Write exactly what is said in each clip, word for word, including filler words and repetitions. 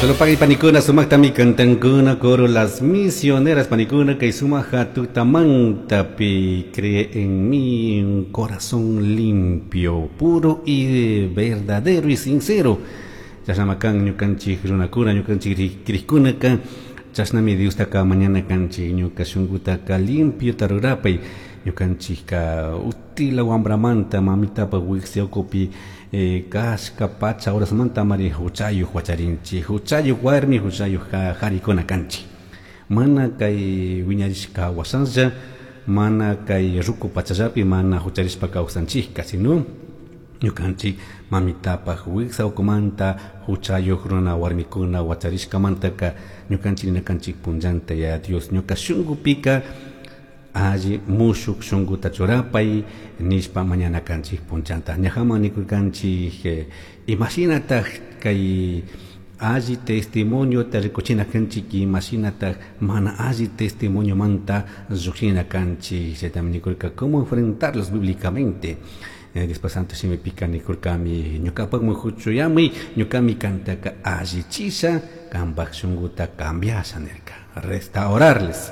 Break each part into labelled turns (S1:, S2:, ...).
S1: Solo pagui panikuna sumaktami kantankuna coro Las Misioneras panikuna kay sumaja tutamantapi cree en mí un corazón limpio, puro y verdadero y sincero. Chashnamakan ñukanchik runakuna ñukanchik krikkunaka chashnami Diostaka mañana kanchik ñuka shunkutaka limpio rurapay ñukanchikka utila wambramanta mamitapa wiksa ukupi eh, kashka pacha horasmanta mari huchayuq wacharinchik huchayuq warmi huchayuq harikuna kanchik mana kay wiñarishka wasalla mana kay ruku pachallapi mana hucharishpa kawsanchikka sino ñukanchik mamitapaj wiksa ukumanta huchayuq runa warmikuna wacharishkamantaka ñukanchik ninakanchik punllanta ya Dios ñuka shunkupika alli mushuk shunkuta churapay nishpa mañana kanchik punchanta ñajaman nikurkanchik eh, imashinataj kay alli testimoniota rikuchina kanchik imashinataj mana alli testimoniomanta llukshina kanchik chaytami nikurka cómo enfrentarlos bíblicamente eh, después santo shimipika nikurkami ñukapakmi huchuyami ñukami kantaka allichisha kanpak shunkuta cambiasha nirka restaurarles.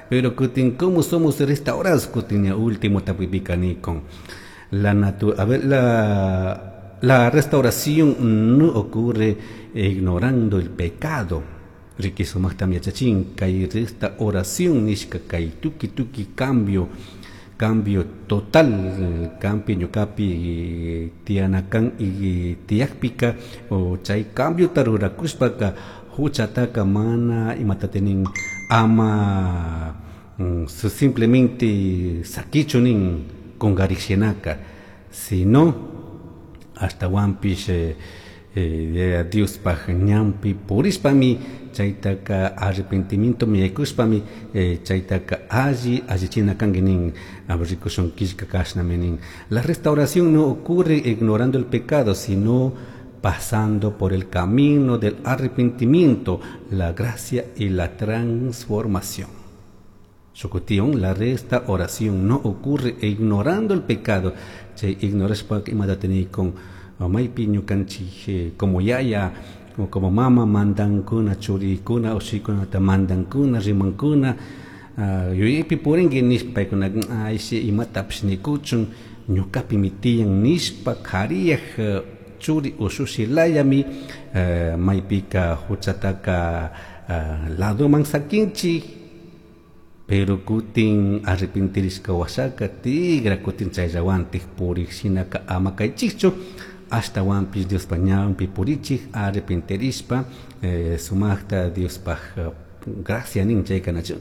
S1: Pero kutin cómo somos restaurados kutin último tapuypika nikun la natu a ver la la restauración no ocurre ignorando el pecado. Riqui sumaktam yachachin kay restauración nishka kay tuki tuki cambio cambio total kampi ñukapi tiyanakan y tiyakpika o chay cambio rurakushpaka huchataka mana imata nin ama mm, simplemente sakichu nin kungarishinaka sino ashtawanpish eh, eh, Diospaj ñanpi purishpami chaytaka arrepentimiento yaykushpami eh, chaytaka alli allichina kanki nin rikushun killka kashnami nin la restauración no ocurre ignorando el pecado sino pasando por el camino del arrepentimiento, la gracia y la transformación. Shukutión, la restauración no ocurre ignorando el pecado. Chay ignorashpa imata con maypi ñukanchik como yaya o como mama mandankuna churikuna ushikunata mandankuna rimankuna yuyaypi purinki nishpa paykuna ayshi imatapish nikuchun ñukapimi tiyan nishpa kariyaj churi ushushi layami maypika huchataka ladoman sakinchik pero kutin arrepentirishka washaka tigra kutin chayllawantik purik shinaka ama kaychikchu ashtawanpish Diospa ñanpi purichik arrepentirishpa eh, sumakta Diospaj gracia nin chayka nachu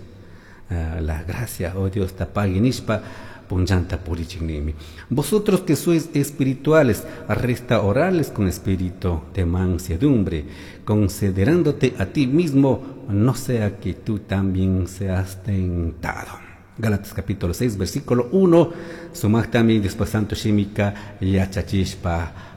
S1: la gracia oh Dios ta pagui nishpa punllanta purichik ninmi vosotros que sois espirituales restaurarles con espíritu de mansedumbre considerándote a ti mismo no sea que tú también seas tentado Gálatas capítulo seis versículo uno sumaktami después santo shimika yachachishpa.